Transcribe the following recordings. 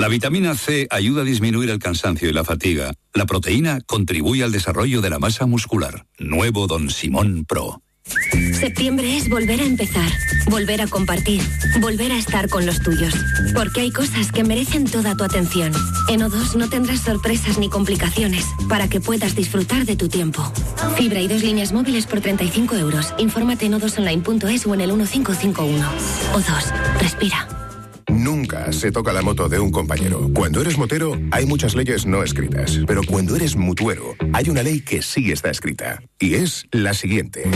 La vitamina C ayuda a disminuir el cansancio y la fatiga. La proteína contribuye al desarrollo de la masa muscular. Nuevo Don Simón Pro. Septiembre es volver a empezar, volver a compartir, volver a estar con los tuyos. Porque hay cosas que merecen toda tu atención. En O2 no tendrás sorpresas ni complicaciones para que puedas disfrutar de tu tiempo. Fibra y 2 líneas móviles por 35 euros. Infórmate en o2online.es o en el 1551. O2, respira. Nunca se toca la moto de un compañero. Cuando eres motero, hay muchas leyes no escritas. Pero cuando eres mutuero, hay una ley que sí está escrita. Y es la siguiente.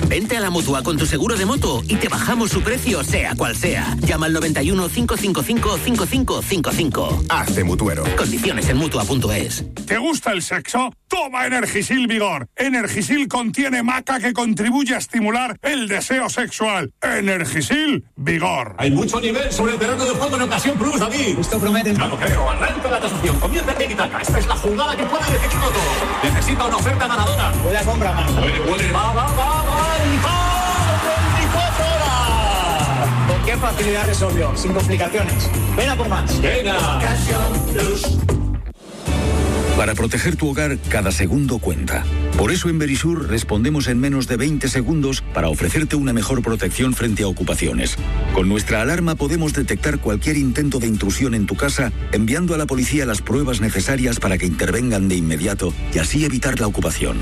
Vente a la Mutua con tu seguro de moto y te bajamos su precio, sea cual sea. Llama al 91 555 5555. Hazte mutuero. Condiciones en Mutua.es. ¿Te gusta el sexo? Toma Energisil Vigor. Energisil contiene maca que contribuye a estimular el deseo sexual. Energisil Vigor. Hay mucho nivel sobre el terreno de juego en Ocasión Plus, David. Esto promete. Ya lo creo. Arranca la tasación. Comienza el tiki-taka. Esta es la jugada que puede decidirlo todo. Necesita una oferta ganadora. Puede comprar más. Puede. Va. 24 horas. ¿Con qué facilidad resolvió? Sin complicaciones. Ven a por más. Venga. Ocasión Plus. Para proteger tu hogar, cada segundo cuenta. Por eso en Verisur respondemos en menos de 20 segundos para ofrecerte una mejor protección frente a ocupaciones. Con nuestra alarma podemos detectar cualquier intento de intrusión en tu casa, enviando a la policía las pruebas necesarias para que intervengan de inmediato y así evitar la ocupación.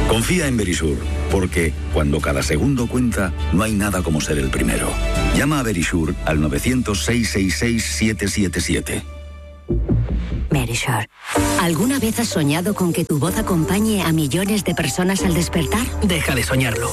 Confía en Verisur, porque cuando cada segundo cuenta, no hay nada como ser el primero. Llama a Verisur al 900-666-777. Verisur. ¿Alguna vez has soñado con que tu voz acompañe a millones de personas al despertar? Deja de soñarlo.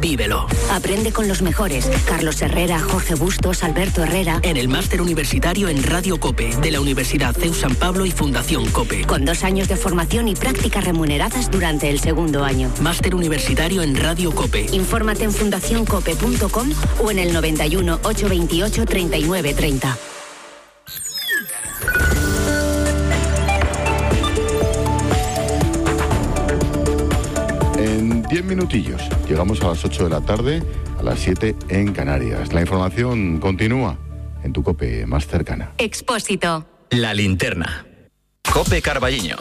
Vívelo. Aprende con los mejores. Carlos Herrera, Jorge Bustos, Alberto Herrera. En el máster universitario en Radio COPE de la Universidad CEU San Pablo y Fundación COPE. Con 2 años de formación y prácticas remuneradas durante el segundo año. Máster universitario en Radio COPE. Infórmate en fundacioncope.com o en el 91 828 3930. En 10 minutillos llegamos a las 8 de la tarde, a las 7 en Canarias. La información continúa en tu COPE más cercana. Expósito. La linterna. COPE Carballiño.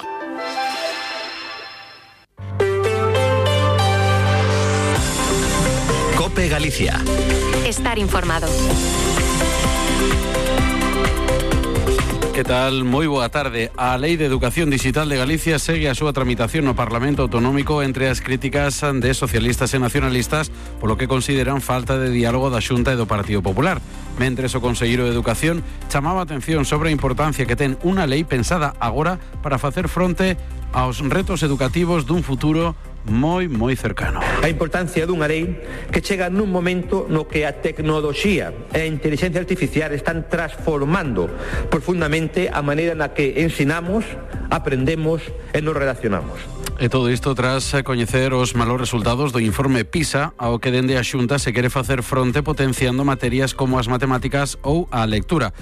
COPE Galicia. Estar informado. Que tal? Moi boa tarde. A Lei de Educación Digital de Galicia segue a súa tramitación no Parlamento Autonómico entre as críticas de socialistas e nacionalistas polo que consideran falta de diálogo da Xunta e do Partido Popular. Mentres o Conselleiro de Educación chamaba a atención sobre a importancia que ten unha lei pensada agora para facer fronte aos retos educativos dun futuro moi cercano. A importancia dunha lei que chega nun momento no que a tecnoloxía e a inteligencia artificial están transformando profundamente a maneira na que ensinamos, aprendemos e nos relacionamos. E todo isto tras coñecer os malos resultados do informe PISA, ao que dende a Xunta se quere facer fronte potenciando materias como as matemáticas ou a lectura.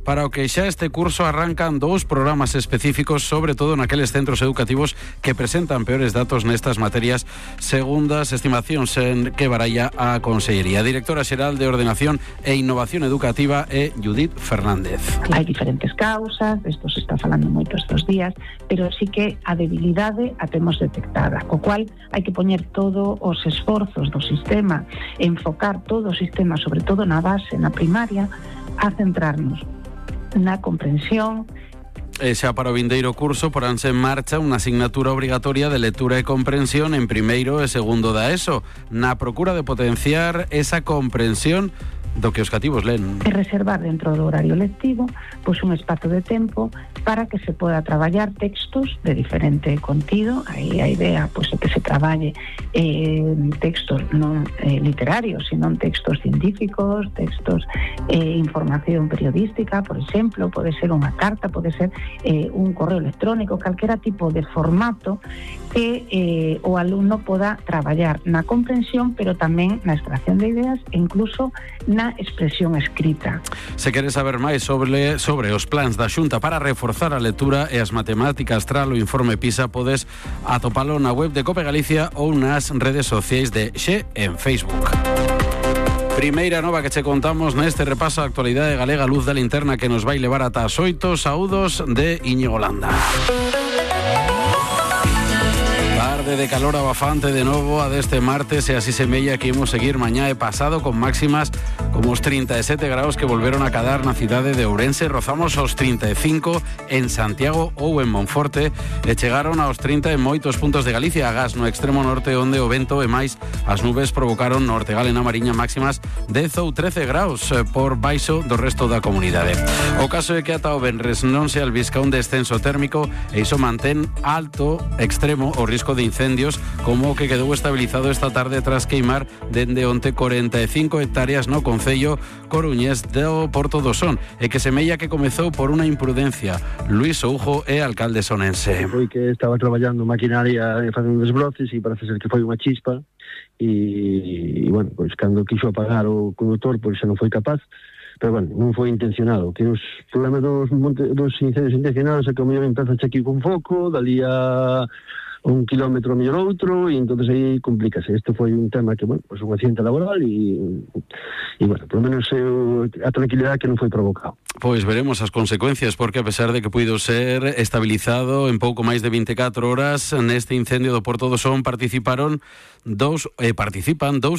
Para o que xa este curso arrancan 2 programas específicos, sobre todo naqueles centros educativos que presentan peores datos nestas materias, segundo as estimacións en que baralla a Consellería. Directora Xeral de Ordenación e Innovación Educativa é Judith Fernández. Hai diferentes causas, isto se está falando moito estes días, pero sí que a debilidade a temos detectada, co cual hai que poñer todos os esforzos do sistema, enfocar todo o sistema, sobre todo na base, na primaria, a centrarnos na comprensión. E xa para o vindeiro curso poránse en marcha unha asignatura obrigatoria de lectura e comprensión en primeiro e segundo da ESO, na procura de potenciar esa comprensión do que os cativos len. E reservar dentro do horario lectivo pois un espazo de tempo para que se poda traballar textos de diferente contido. Aí a idea pois é que se traballe textos non literarios, sino textos científicos, textos información periodística, por exemplo, pode ser unha carta, pode ser un correo electrónico, calquera tipo de formato que o alumno poda traballar na comprensión, pero tamén na extracción de ideas e incluso na expresión escrita. Se queres saber máis sobre os plans da Xunta para reforzar a lectura e as matemáticas tras o informe PISA, podes atopalo na web de COPE Galicia ou nas redes sociais de Xe en Facebook. Primeira nova que che contamos neste repaso a actualidade galega luz da linterna que nos vai levar ata as 8. Saúdos de Íñigo Landa. Tarde de calor abafante de novo a deste martes e así semella que imos seguir mañá e pasado con máximas como os 37 graus que volveron a cadar na cidade de Ourense. Rozamos os 35 en Santiago ou en Monforte e chegaron aos 30 en moitos puntos de Galicia, agás no extremo norte onde o vento e máis as nubes provocaron no Ortegal e na Mariña máximas 10 ou 13 graus por baixo do resto da comunidade. O caso é que ata o venres non se albisca un descenso térmico e iso mantén alto extremo o risco de incendios como o que quedou estabilizado esta tarde tras queimar dende onte 45 hectáreas no concello coruñés do Porto do Son e que semella que comezou por unha imprudencia. Luís Soujo é alcalde sonense. Foi que estaba traballando maquinaria e facendo desbroces e parece ser que foi unha chispa e bueno, pois cando quixo apagar o conductor pois xa non foi capaz. Pero bueno, non foi intencionado. Que os problemas dos incendios intencionados é que o mellor empeza aquí con foco, dali a 1 kilómetro mellor outro, e entonces aí complícase. Este foi un tema que, bueno, pues un accidente laboral e bueno, por lo menos a tranquilidade que non foi provocado. Pois veremos as consecuencias, porque a pesar de que puido ser estabilizado en pouco máis de 24 horas neste incendio do Porto do Son participan dous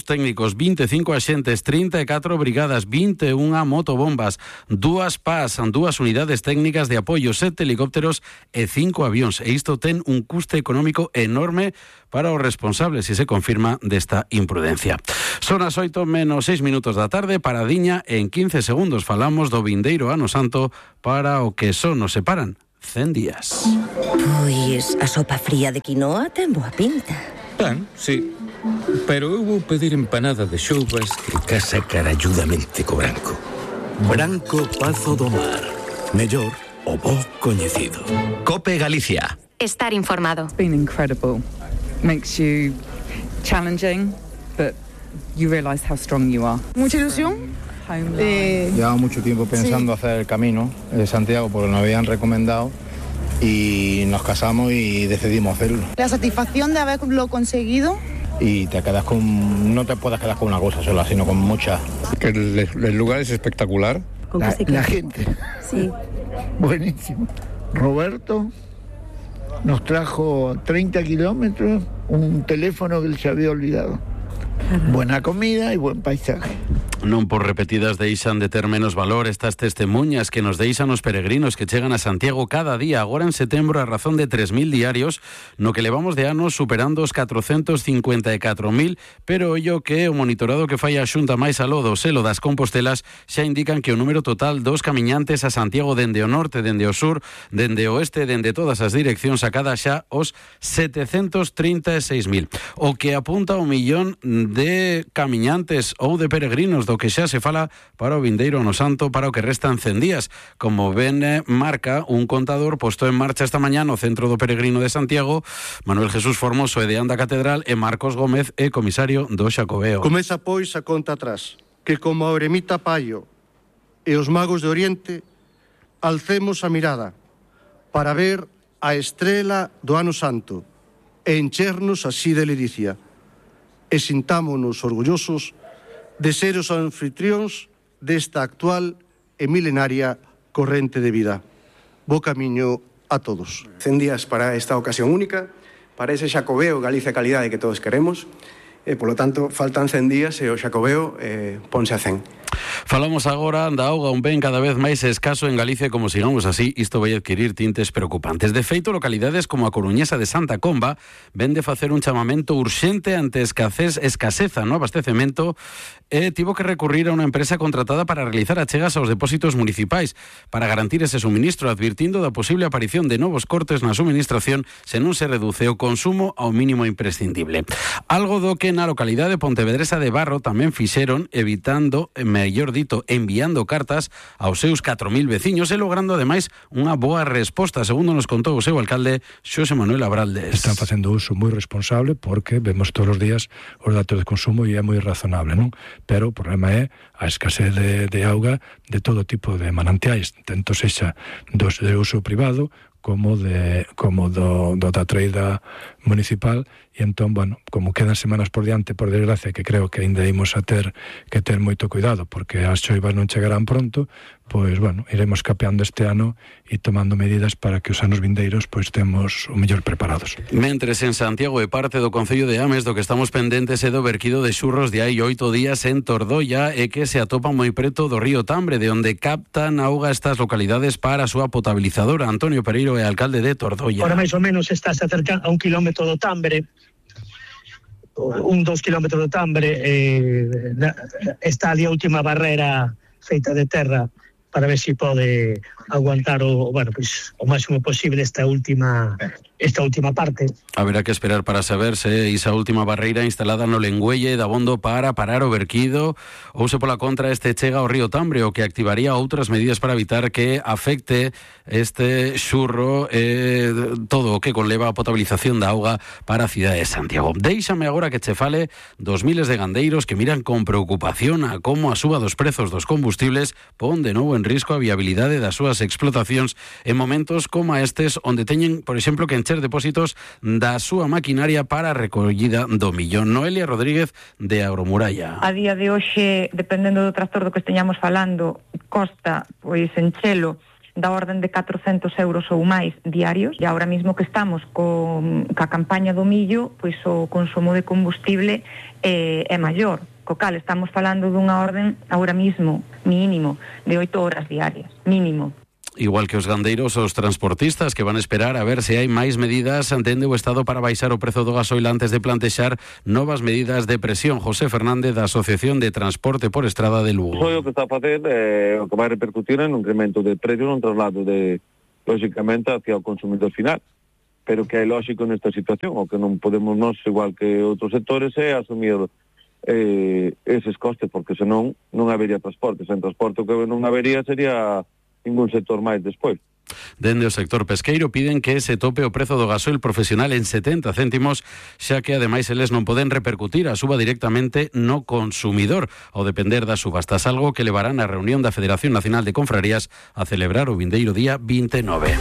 técnicos, 25 axentes, 34 brigadas, 21 motobombas, 2 PAS, 2 unidades técnicas de apoio, 7 helicópteros e 5 avións. E isto ten un custe económico enorme para os responsables, se se confirma desta imprudencia. Son as 8 menos 6 minutos da tarde, paradiña, en 15 segundos falamos do vindeiro ano santo para o que só nos separan 100 días. Pois a sopa fría de quinoa ten boa pinta. Pan, sí, pero eu vou pedir empanada de xoubas que casa caralludamente co branco. Branco Pazo do Mar, mellor o bo coñecido. Cope Galicia. Estar informado. It's been incredible. Makes you challenging, but you realize how strong you are. Mucha ilusión. Llevaba mucho tiempo pensando hacer el camino de Santiago porque nos habían recomendado y nos casamos y decidimos hacerlo. La satisfacción de haberlo conseguido. Y te quedas no te puedes quedar con una cosa sola, sino con muchas. Que el lugar es espectacular. La gente. Sí. Buenísimo. Roberto nos trajo 30 kilómetros un teléfono que él se había olvidado. Buena comida y buen paisaje. Non por repetidas deixan de ter menos valor estas testemunhas que nos deixan os peregrinos que chegan a Santiago cada día, agora en setembro a razón de 3.000 diarios, no que levamos de anos superando os 454.000, pero ollo que o monitorado que fai a Xunta máis aló do selo das Compostelas xa indican que o número total dos camiñantes a Santiago dende o norte, dende o sur, dende o oeste, dende todas as direccións acada xa os 736.000, o que apunta ao millón de camiñantes ou de peregrinos do que xa se fala para o vindeiro ano santo, para o que restan 100 días. Como ben marca un contador posto en marcha esta mañá no Centro do Peregrino de Santiago, Manuel Jesús Formoso e de Anda Catedral e Marcos Gómez é comisario do Xacobeo. Comeza pois a conta atrás, que como a eremita Paio e os magos de Oriente alcemos a mirada para ver a estrela do ano santo e enchernos así de ledicia e sintámonos orgullosos de ser os anfitrións desta actual e milenaria corrente de vida. Bo camiño a todos. 100 días para esta ocasión única, para ese Xacobeo Galicia Calidade que todos queremos, e, polo tanto, faltan 100 días e o Xacobeo ponse a 100. Falamos agora da auga, un ben cada vez máis escaso en Galicia, como sigamos así, isto vai adquirir tintes preocupantes. De feito, localidades como a coruñesa de Santa Comba ven de facer un chamamento urxente ante escaseza no abastecemento e tivo que recurrir a unha empresa contratada para realizar achegas aos depósitos municipais para garantir ese suministro, advirtindo da posible aparición de novos cortes na suministración se non se reduce o consumo ao mínimo imprescindible. Algo do que na localidade pontevedresa de Barro tamén fixeron, evitando, mellor dito, enviando cartas aos seus 4.000 veciños e logrando ademais unha boa resposta, segundo nos contou o seu alcalde Xosé Manuel Abraldes. Están facendo uso moi responsable porque vemos todos os días os datos de consumo e é moi razonable, non? Pero o problema é a escasez de auga de todo tipo de manantiais, tanto sexa dos de uso privado como da treida municipal, e entón, bueno, como quedan semanas por diante, por desgracia, que creo que ainda imos a ter que ter moito cuidado, porque as choivas non chegarán pronto, pois, bueno, iremos capeando este ano e tomando medidas para que os anos vindeiros pois temos o mellor preparados. Mentres en Santiago e parte do Concello de Ames, do que estamos pendentes é do verquido de xurros de hai 8 días en Tordoia e que se atopa moi preto do río Tambre, de onde captan auga estas localidades para a súa potabilizadora. Antonio Pereiro é alcalde de Tordoia. Ahora máis ou menos está se acercando a 1 kilómetro do Tambre, 2 kilómetros do Tambre, está ali a última barrera feita de terra para ver se pode aguantar o máximo posible esta última parte. Haberá que esperar para saber se esa última barreira instalada no Lengüelle da abondo para parar o verquido ou se pola contra este chega ao río Tambre, o que activaría outras medidas para evitar que afecte este xurro todo o que conleva a potabilización da auga para a cidade de Santiago. Déixame agora que che fale dos miles de gandeiros que miran con preocupación a como a suba dos prezos dos combustibles pon de novo en risco a viabilidade das súas explotacións en momentos como estes, onde teñen, por exemplo, que encher depósitos da súa maquinaria para a recollida do millón. Noelia Rodríguez, de Agromuralla. A día de hoxe, dependendo do tractor do que esteñamos falando, costa, pois, enchelo da orden de 400 euros ou máis diarios, e agora mismo que estamos ca campaña do millo, pois o consumo de combustible é maior. Co cal estamos falando dunha orden agora mismo mínimo de 8 horas diarias, mínimo. Igual que os gandeiros, os transportistas que van a esperar a ver se hai máis medidas entende o Estado para baixar o prezo do gasoil antes de plantexar novas medidas de presión. José Fernández, da Asociación de Transporte por Estrada de Lugo. O que está a facer o que vai repercutir en un incremento de precio, un traslado de, lógicamente, hacia o consumidor final. Pero que é lógico nesta situación, o que non podemos nós, igual que outros sectores, é asumir eses costes, porque senón non habería transporte. Sen transporte o que non habería sería ningún sector máis despois. Dende o sector pesqueiro piden que se tope o prezo do gasoil profesional en 70 céntimos, xa que ademais eles non poden repercutir a suba directamente no consumidor, ao depender das subastas, algo que levarán a reunión da Federación Nacional de Confrarías a celebrar o vindeiro día 29.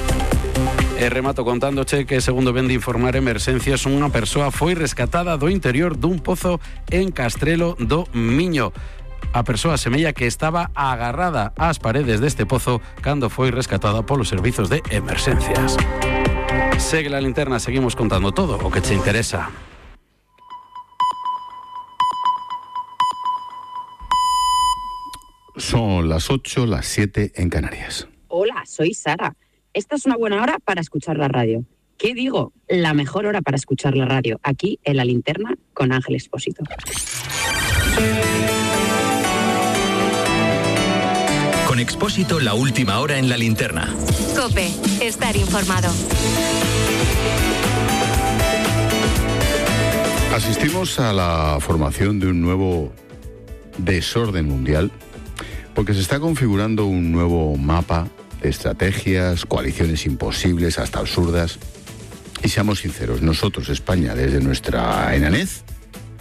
E remato contándoche que, segundo ven de informar Emerxencias, unha persoa foi rescatada do interior dun pozo en Castrelo do Miño. A persoa semella que estaba agarrada ás paredes deste pozo cando foi rescatada polos servizos de emerxencias. Segue la linterna, seguimos contando todo o que te interesa. Son las 8, las 7 en Canarias. Hola, soy Sara. Esta es una buena hora para escuchar la radio. ¿Qué digo? La mejor hora para escuchar la radio, aquí en La Linterna con Ángel Expósito. Con Expósito, la última hora en La Linterna. COPE, estar informado. Asistimos a la formación de un nuevo desorden mundial porque se está configurando un nuevo mapa de estrategias, coaliciones imposibles, hasta absurdas. Y seamos sinceros, nosotros, España, desde nuestra enanez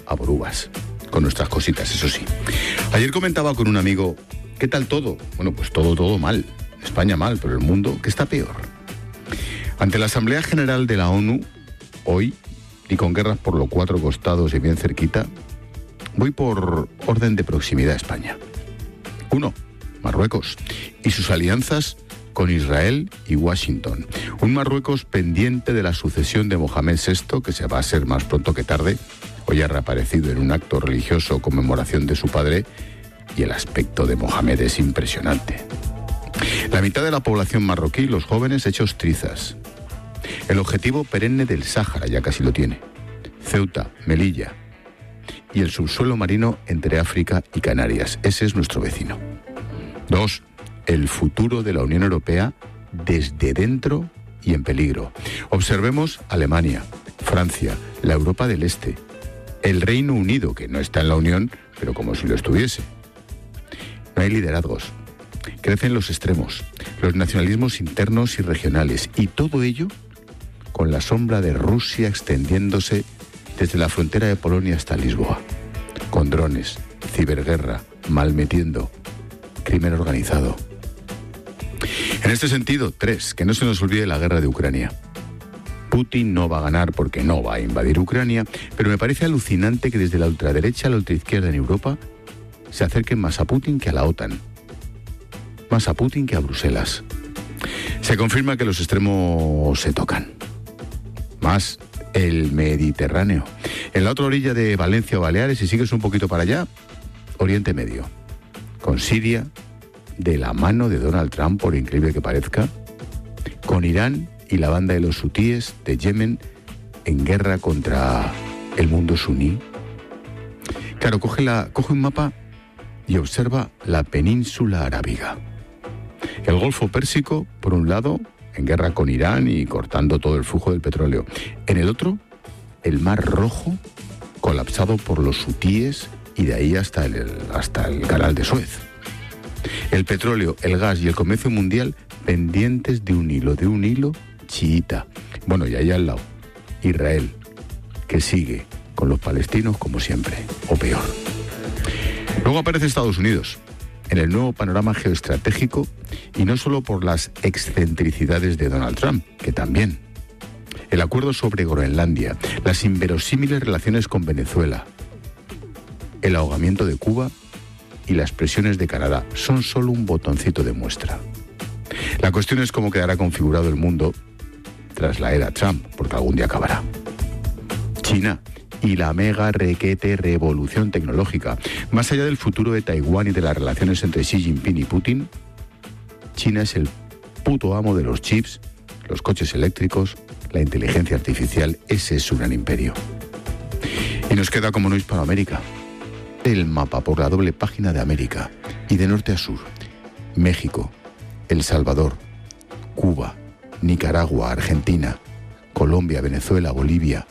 a borúas, con nuestras cositas, eso sí. Ayer comentaba con un amigo, ¿qué tal todo? Bueno, pues todo mal. España mal, pero el mundo, ¿qué está peor? Ante la Asamblea General de la ONU, hoy, y con guerras por los cuatro costados y bien cerquita, voy por orden de proximidad a España. 1. Marruecos y sus alianzas con Israel y Washington. Un Marruecos pendiente de la sucesión de Mohamed VI, que se va a ser más pronto que tarde. Hoy ha reaparecido en un acto religioso conmemoración de su padre, y el aspecto de Mohamed es impresionante. La mitad de la población marroquí, los jóvenes hechos trizas. El objetivo perenne del Sáhara ya casi lo tiene. Ceuta, Melilla y el subsuelo marino entre África y Canarias. Ese es nuestro vecino. 2. El futuro de la Unión Europea desde dentro y en peligro. Observemos Alemania, Francia, la Europa del Este, el Reino Unido, que no está en la Unión, pero como si lo estuviese. No hay liderazgos. Crecen los extremos, los nacionalismos internos y regionales, y todo ello con la sombra de Rusia extendiéndose desde la frontera de Polonia hasta Lisboa, con drones, ciberguerra, malmetiendo, crimen organizado. En este sentido, 3, que no se nos olvide la guerra de Ucrania. Putin no va a ganar porque no va a invadir Ucrania, pero me parece alucinante que desde la ultraderecha a la ultraizquierda en Europa se acerquen más a Putin que a la OTAN, más a Putin que a Bruselas. Se confirma que los extremos se tocan. Más el Mediterráneo. En la otra orilla de Valencia o Baleares, si sigues un poquito para allá, Oriente Medio. Con Siria, de la mano de Donald Trump, por increíble que parezca. Con Irán y la banda de los hutíes de Yemen en guerra contra el mundo suní. Claro, coge un mapa y observa la península arábiga. El Golfo Pérsico, por un lado, en guerra con Irán y cortando todo el flujo del petróleo. En el otro, el Mar Rojo, colapsado por los hutíes y de ahí hasta el canal de Suez. El petróleo, el gas y el comercio mundial pendientes de un hilo chiita. Bueno, y ahí al lado, Israel, que sigue con los palestinos como siempre, o peor. Luego aparece Estados Unidos, en el nuevo panorama geoestratégico, y no solo por las excentricidades de Donald Trump, que también. El acuerdo sobre Groenlandia, las inverosímiles relaciones con Venezuela, el ahogamiento de Cuba y las presiones de Canadá son solo un botoncito de muestra. La cuestión es cómo quedará configurado el mundo tras la era Trump, porque algún día acabará. China y la mega requete revolución tecnológica. Más allá del futuro de Taiwán y de las relaciones entre Xi Jinping y Putin, China es el puto amo de los chips, los coches eléctricos, la inteligencia artificial. Ese es su gran imperio. Y nos queda como no Hispanoamérica. El mapa por la doble página de América y de norte a sur. México, El Salvador, Cuba, Nicaragua, Argentina, Colombia, Venezuela, Bolivia,